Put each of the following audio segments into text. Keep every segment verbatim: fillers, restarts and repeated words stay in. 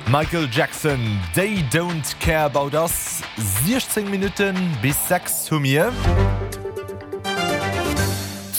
Michael Jackson, They Don't Care About Us, siechzéng Minutten bis sechs hu mir.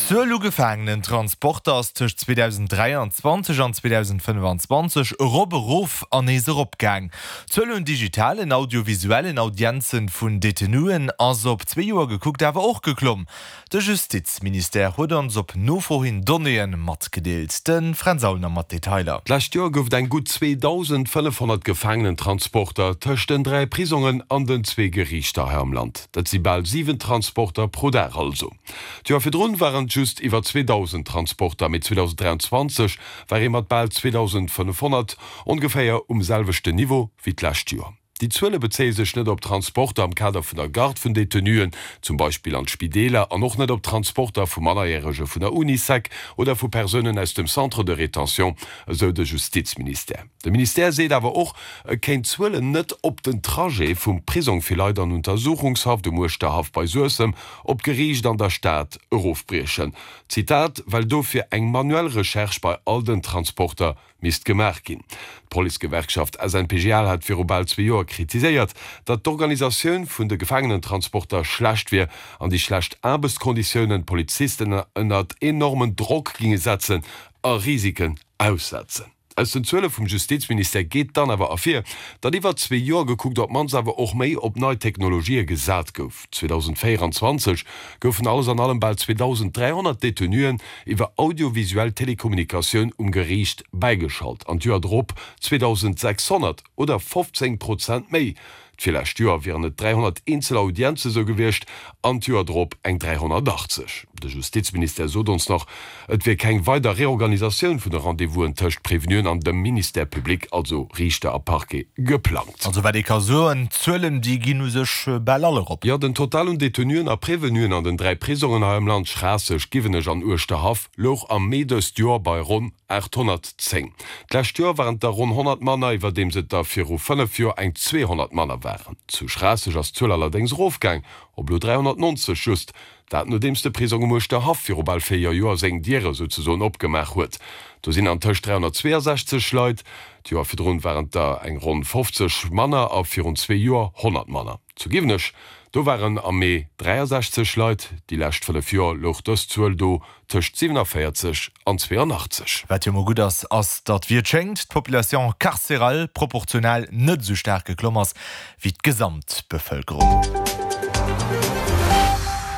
D'Zuel u Gefaangenentransporter ass tëscht zweedausenddräianzwanzeg an zweedausendfënnefanzwanzeg erop, erof an nees eropgaang. D'Zuel un digitalen audiovisuellen Audienzen vun Detenuen ass op zwee Joer gekuckt awer och geklomm. De Justizministère huet ons op Nofro hin Donnéeë matgedeelt. De Fränz Aulner mat Detailer. D'lescht Joer gouf et eng gutt zweedausendfënnefhonnert Gefaangenentransporter tëscht den dräi Prisongen an den zwee Geriichter hei am Land. Dat si bal siwen Transporter pro Dag also. D'Joer virdrun waren et just iwwer zweedausend Transporter, mee zweedausenddräianzwanzeg war ee mat bal zweedausendfënnefhonnert ongeféier um selwechten Niveau wéi d'lescht Joer. Déi Zuele bezéie sech net op Transporter am Kader vun der Garde vun Detenuen, zum Beispill an d'Spideeler, an och net op Transporter vu Mannerjärege vun der Unisec oder vu Persounen aus dem Centre de rétention, esou de Justizministère. De Ministère seet awer och, e kéint d'Zuelen net op den Trajet vum Prisong fir Leit an Untersuchungshaft um Uerschterhaff bei Suessem op d'Geriicht an der Stad erofbriechen, Zitat, well dofir eng manuell Recherche bei all den Transporter misst gemaach ginn. D'Policegewerkschaft S N P G L hat viru bal zwee Joer kritiséiert, datt d'Organisatioun vun de Gefaangenentransporter schlecht wier an déi schlecht Aarbechtskonditiounen d'Polizisten ënnert enormen Drock ginge setzen a Risiken aussetzen. Aus den Zuele vum Justizministère geet dann awer ervir, datt iwwer zwee Joer gekuckt op d'mannst awer och méi op nei Technologië gesat gouf. zweedausenddvéieranzwanzeg goufen alles an allem bal zweedausend dräihonnert Detenuen iwwer audiovisuell Telekommunikatioun um Geriicht bäigeschalt an d'Joer drop zweedausendsechshonnert oder fofzéng Prozent méi. D'virlescht Joer wieren et dräihonnert eenzel Audienze sou gewiescht an d'Joer drop eng dräihonnertachtzeg. De Justizministère sot ons nach, et wier keng weider Reorganisatioun vun de Rendez-vousen tëscht Prévenuen an dem Ministère public, also Riichter a Parquet, geplangt. Also wat ee ka soen, d'Zuelen déi ginn u sech bal all erop. Jo, den Total un Detenuen a Prévenuen an den dräi Prisongen hei am Land, Schraasseg, Giwenech an Uerschterhaff, louch am Mee dëst Joer bei ronn aathonnertzéng. D'lescht Joer waren et der ronn honnert manner, iwwerdeems et der viru fënnef Joer eng zweehonnert manner waren. Zu Schraasseg ass d'Zuel allerdéngs erofgaang, op elo dräihonnertnonzeg just. Dat nodeems de Prisong um Uerschterhaff viru bal véier Joer seng Diere souzesoen opgemaach huet. Do sinn antëscht dräihonnertzweeasechzeg Leit, d'Joer virdrun waren et der eng ronn fofzeg manner a virun zwee Joer honnert manner. Zu Giwenech, do waren am Mee dräiasechzeg Leit, déi lescht fënnef Joer louch dës Zuel do tëscht siewenaféierzeg an zweeanachtzeg. Wat jo mol gutt ass, ass, datt, wéi et schéngt, d'Population carcérale proportional net esou staark geklomm ass wéi d'Gesamtbevëlkerung.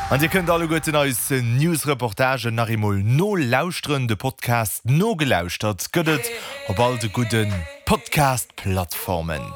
An Dir kënnt alleguerten eis News-Reportagen nach eemol nolauschteren. De Podcast Nogelauschtert gëtt et op all de gudde Podcast-Plattformen.